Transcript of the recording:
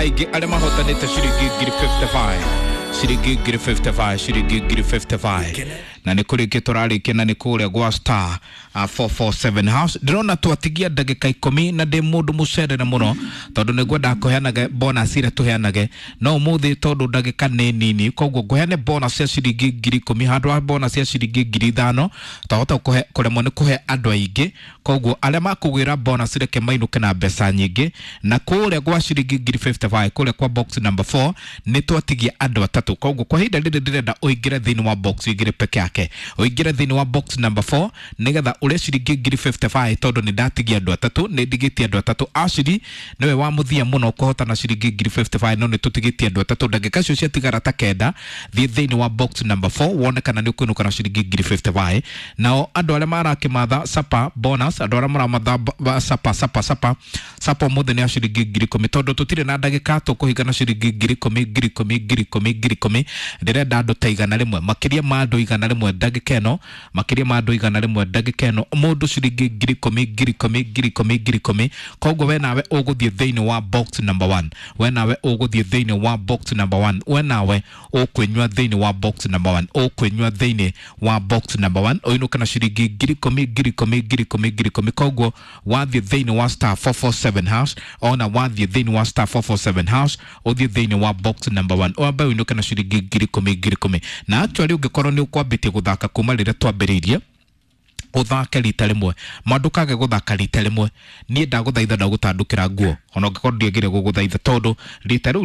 Aingĩ arĩa mahotanĩte ciringi 55,000, ciringi 55,000, ciringi 55,000, na nĩ kũrĩkia tũrarĩkia na nĩ kũrĩa gwa star 447 house. Ndĩrona twatigia ndagĩka 10 na ndĩ mũndũ mũcerere mũno tondũ nĩ ngwendaga kũheanage bonus iria tũheanage, no ũmũthĩ tondũ ndagĩka nĩ nini, koguo ngũheane bonus ya ciringi 10,000 handũ ha bonus ya ciringi 5,000. Twahota kũremwo nĩ kũhe andũ aingĩ, koguo arĩa makũgwĩra bonus reke mainũke na mbeca nyingĩ. Na kũrĩa gwa ciringi 55,000, kũrĩa kwa box number 4, nĩ twatigia andũ atatũ. Koguo kwa ihinda rĩrĩ ndĩrenda ũingĩre thĩinĩ wa box, ũingĩre peke yake, ũingĩre thĩinĩ wa box number 4 nĩgetha ũrĩe ciringi 55,000, tondũ nĩ ndatigia andũ atatũ, nĩ ndigĩtie andũ atatũ. Ashiri nĩwe wa mũthia mũno kũhotana ciringi 55,000, no nĩ tũtigĩtie andũ atatũ. Ndagĩka icio ciatigara ta 9, thiĩ thĩinĩ wa box number 4 wone kana nĩ ũkũinũka na ciringi 55,000. Nao andũ arĩa marakĩmatha sapa bonus, andũ arĩa maramatha sapa sapa sapa sapa, ũmũthĩ nĩ ya ciringi 10,000, tondũ tũtirĩ na ndagĩka, tũkũhinga na ciringi 10,000, 10,000, 10,000, 10,000. Ndĩrenda andũ ta 100, makĩria ma andũ 100 ndagĩka ĩno, makĩria ma andũ 100 ndagĩka ĩno, mũndũ ciringi 10,000, 10,000, 10,000, 10,000. Koguo we nawe ũgũthiĩ thĩinĩ wa box number 1, we nawe ũgũthiĩ thĩinĩ wa box number 1, we nawe ũkwĩnyua thĩinĩ wa box number 1, ũkwĩnyua thĩinĩ wa box number 1, ũinũke na ciringi 10,000, 10,000, 10,000, 10,000. Koguo wathiĩ thĩinĩ wa star 447 hash, ona wathiĩ thĩinĩ wa star 447 hash, ũthiĩ thĩinĩ wa box number 1, wambe ũinũke na ciringi 10,000, 10,000. Na actually ũngĩkorwo nĩ ũkwambĩtie gũthaka kuma rĩrĩa twambĩrĩirie, ũthake rita rĩmwe, ma ndũkage gũthaka rita rĩmwe. Niĩ ndagũthaitha, ndagũtandũkĩra nguo ona ũngĩkorwo ndiagĩrĩire gũgũthaitha, tondũ rita rĩu